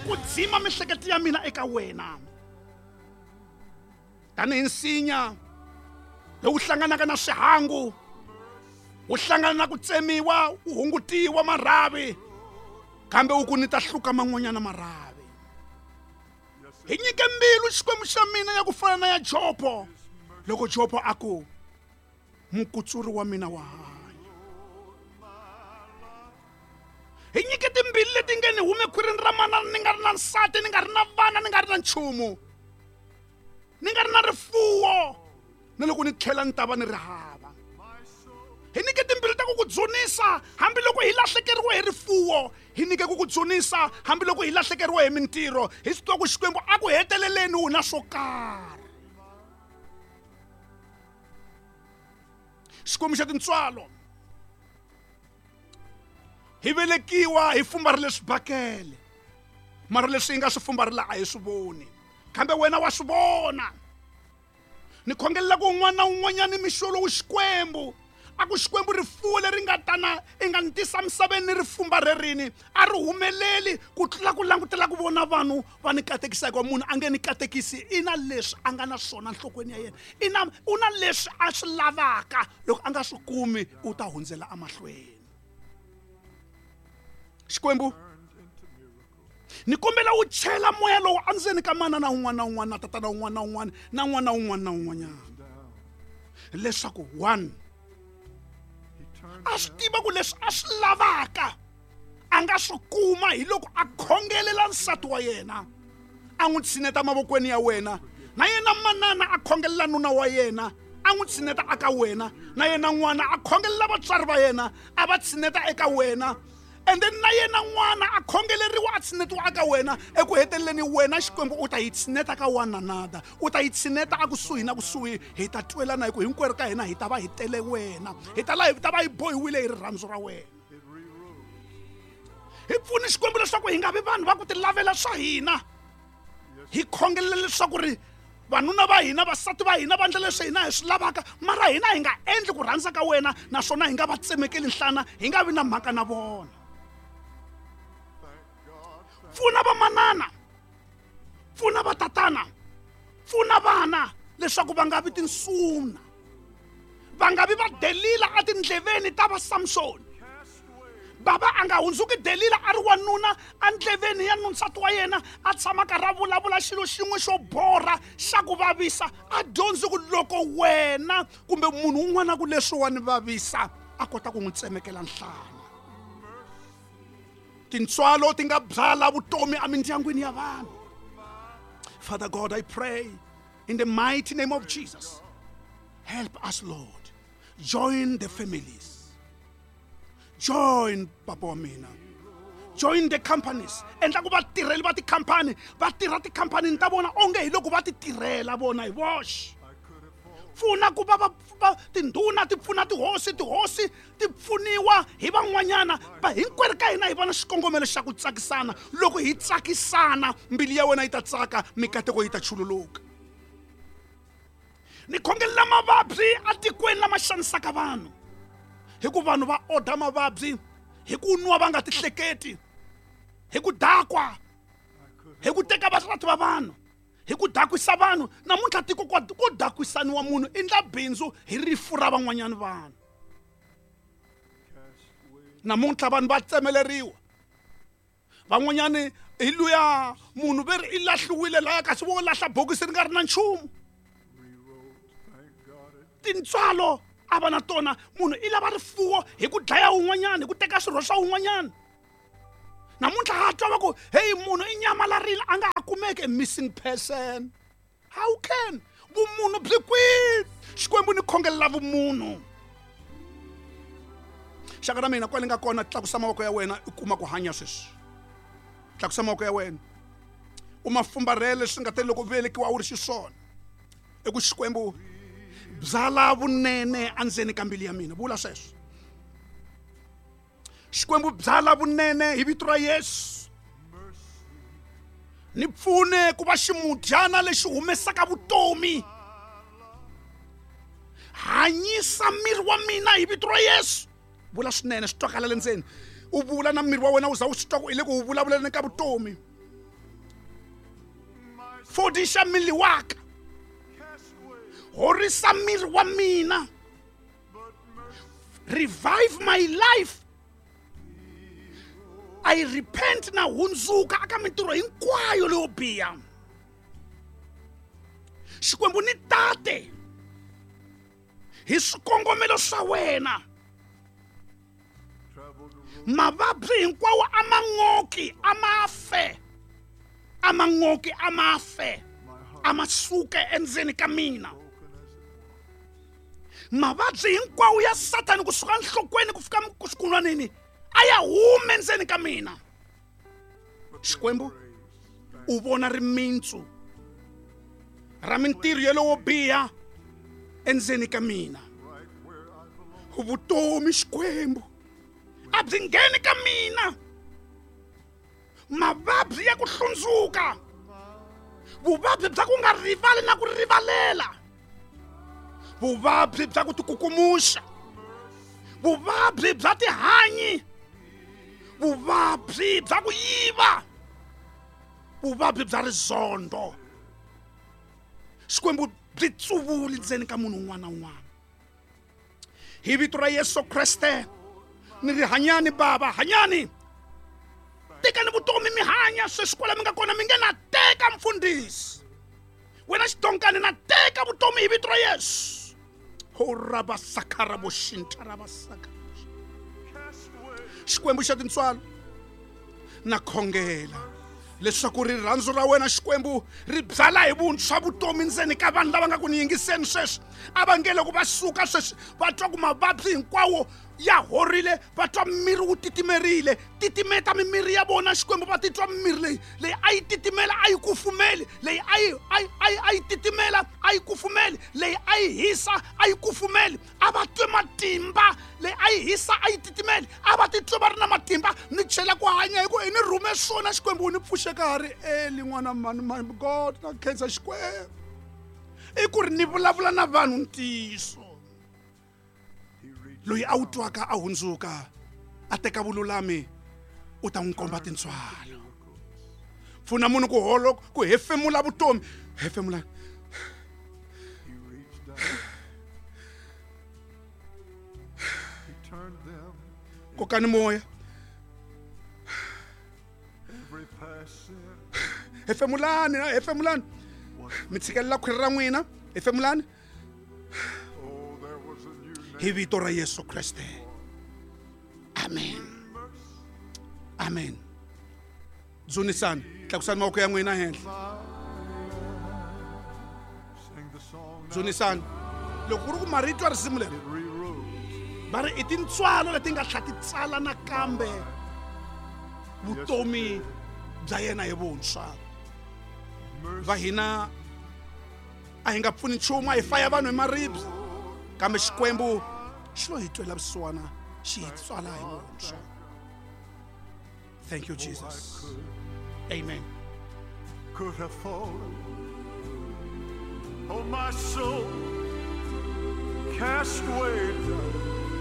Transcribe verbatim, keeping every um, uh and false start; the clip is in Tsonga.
ku dzima miehleketo ya mina eka wena. Tanihi nsinya lowu hlanganaka na swihangu, wu hlangana na ku tsemiwa, wu hungutiwa marhavi, kambe wu ku ni ta hluka man'wanyana marhavi. Hi nyike mbilu Xikwembu xa mina ya ku fana na ya Jobo, loko Jobo a ku mukutsuri wa mina wa hanya. Hi nyike timbilu leti nge ni hume khwirini ra manana ni nga ri na nsati, ni nga ri na vana, ni nga ri na nchumu, ni nga ri na rifuwo, na loko ni tlhela ni ta va ni ri hava. Hi nyike timbilu ta ku ku dzunisa hambiloko hi lahlekeriwe hi rifuwo, hi nyike ku ku dzunisa hambiloko hi lahlekeriwe hi mintirho, hi swi tiva ku Xikwembu a ku heteleleni wu na swo karhi. Xikwembu xa tintswalo, hi velekiwa hi fumbarile swibakele, mara leswi hi nga swi fumbarila a hi swi voni, kambe wena wa swi vona. Ni khongelela ku un'wana na un'wanyana mixo lowu Xikwembu a ku Xikwembu rifuwo leri nga tana i nga ni tisa misaveni ni ri fumbarerini a ri humeleli ku tlula ku langutela ku vona vanhu va ni katekisa, hikuva munhu a nge ni katekisi i na leswi a nga na swona nhlokweni ya yena, i na u na leswi a swi lavaka, loko a nga swi kumi u ta hundzela emahlweni. Xikwembu ni kombela wu chela moya lowu endzeni ka manana un'wana na un'wana na tatana un'wana na un'wana na n'wana un'wana na un'wanyana, leswaku one a swi tiva ku leswi a swi lavaka a nga swi kuma hi loko a khongelela nsati wa yena, a n'wi tshineta mavokweni ya wena, na yena manana a khongelela nuna wa yena, a n'wi tshineta eka wena, na yena n'wana a khongelela vatswari va yena, a va tshineta eka wena, and then na yena n'wana a khongeleriwa a tshinetiwa eka wena. Eku heteleleni wena Xikwembu u ta yi tshineta ka one another, u ta yi tshineta akusuhi na kusuhi, hi ta twelana hi ku hinkwerhu ka hina hi ta va hi tele wena, hi ta la hi ta va hi bohiwile hi rirhandzu ra wena. Hi pfuni Xikwembu leswaku hi nga vi vanhu va ku ti lavela swa hina, hi khongelela leswaku ri vanuna va hina, vasati va hina va endla leswi hina hi swi lavaka, mara hina hi nga endli ku rhandza ka wena, naswona hi nga va tsemekeli nhlana, hi nga vi na mhaka na vona. Pfuna vamanana, pfuna vatatana, pfuna vana leswaku va nga vi tinsuna, va nga vi va Delila etindleveni ta va Samsoni. Baba a nga hundzuki Delila a ri wanuna endleveni ya nsati wa yena, a tshama karhi a vulavula xilo xin'we xo borha xa ku vavisa, a dyondzi ku loko wena kumbe munhu un'wana ku leswi wa ni vavisa a kota ku n'wi tsemekela nhlana. Tintswalo ti nga byala vutomi emindyangwini ya vanhu. Father God, I pray in the mighty name of Jesus, help us, Lord. Join the families, join papa wa mina, join the companies. Endla ku vatirheli va tikhampani va tirha tikhampanini ta vona onge hi loko va ti tirhela vona hi voxe. Pfuna ku va va tindhuna ti pfuna tihosi, tihosi ti pfuniwa hi van'wanyana, va hinkwerhu ka hina hi vona xikongomelo xa ku tsakisana. Loko hi tsakisana mbilu ya wena yi ta tsaka, mikateko yi ta chululuka. Ni khongelela mavabyi etikweni lama xanisaka vanhu, hi ku vanhu va order mavabyi hi ku nwa va nga ti hleketi, hi ku dakwa, hi ku teka vasati va vanhu, hi ku dakwisa vanhu. Namuntlha tiko ko dakwisaniwa munhu i ndla bindzu hi rifu ra van'wanyana vanhu. Namuntlha vanhu va tsemeleriwa, van'wanyani hi luya munhu ve ri i lahliwile laya kasi vo lahla bokisi ri nga ri na nchumu. Tintswalo a va na tona, munhu i lava rifuwo hi ku dlaya un'wanyana, hi ku teka swirho swa un'wanyana. Namuntlha ha twa va ku hey, munhu i nyamalarile a nga ha kumeki, missing person. How can vumunhu byi kwihi? Xikwembu ni khongelela vumunhu. Xaka ra mina kwale nga kona, tlakusa mavoko ya wena i kuma ku hanya sweswi. Tlakusa mavoko ya wena u ma fumbarhele swi nga te loko velekiwa wu ri xiswona. I ku Xikwembu byala vunene endzeni ka mbilu ya mina, vula sweswo. Xikwembu byala vunene hi vito ra Yesu, ni pfune ku va ximudyana lexi humesaka vutomi. Hanyisa miri wa mina hi vito ra Yesu. Vula swinene swi twakala le ndzeni, u vula na miri wa wena u za u swi twa ku i le ku wu vulavuleni ka vutomi. Fodisa mmele wa ka. Horisa miri wa mina. Revive my life. I repent na hundzuka aka mintirho hinkwayo leyo biha. Xikwembu ni tate hi swikongomelo swa wena. Mavabyi hinkwawo a ma n'oki, a ma fe, a ma n'oki, a ma fe, a ma suke endzeni ka mina. Mavabyi hinkwawo ya Satani kusuka nhlokweni ku fika xikunwanini a ya hume endzeni ka mina. Xikwembu u vona rimintsu ra mintirho yeleyo biha endzeni ka mina. Vutomi Xikwembu a byi ngheni ka mina. Mavabyi ya ku hlundzuka, vuvabyi bya ku nga rivali na ku rivalela, vuvabyi bya ku tikukumuxa, vuvabyi bya tihanyi, vuvabyi bya ku yiva, vuvabyi bya rizondo. Xikwembu byi tsuvuli ndzeni ka munhu un'wana na un'wana. Hi vito ra Yesu Kreste ni ri hanyani baba, hanyani. Tekani vutomi mi hanya sweswi kwala mi nga kona, mi nge na teka mfundhisi. Wena xidonkani na teka vutomi hi vito ra Yesu. Ho rabasaka raboshinta rabasaka. Xikwembu xa tintswalo na khongela leswaku rirhandzu ra wena Xikwembu ri byala hi vuntshwa vutomi ndzeni ka vanhu lava nga ku ni yingiseni sweswi. A va nge loko va suka sweswi va twa ku mavabyi hinkwawo ya horile, va twa miri wu titimerile. Titimeta mimiri ya vona Xikwembu, va titwa mimiri leyi leyi a yi titimela a yi kufumeli, leyi a yi a yi a yi titimela a yi kufumeli, leyi a yi hisa a yi kufumeli. A va twe matimba, leyi a yi hisa a yi titimeli, a va titwe va ri na matimba. Ni chela ku hanya hi ku i ni rhume swona Xikwembu, ni pfuxe ka ha ri eli n'wana mani mani. God na khensa Xikwembu i ku ri ni vulavula na vanhu ntiyiso. Loyi a wu twaka a hundzuka a teka vululami u ta n'wi komba tintswalo. Pfuna munhu ku holo ku hefemula vutomi. Hefemula. Kokani moya. Hefemulani, hefemulani. Mi tshikelela khwiri ra n'wina. Hefemulani. Hi vito ra Yesu Kreste. Amen. Amen. Dzunisani, tlakusani mavoko ya n'wina henhla. Dzunisani. Loko ku ri ku marito ya risimu leri va ri i tintswalo leti nga tlha ti tsala nakambe vutomi bya yena hi vuntshwa. Va hina a hi nga pfuni nchumu, a hi faya vanhu hi maribye, kambe Xikwembu xi lo hi twela vusiwana, xi hi tswala hi vuntshwa. Thank you, Jesus. Amen. Could have fallen, oh my soul, cast way down.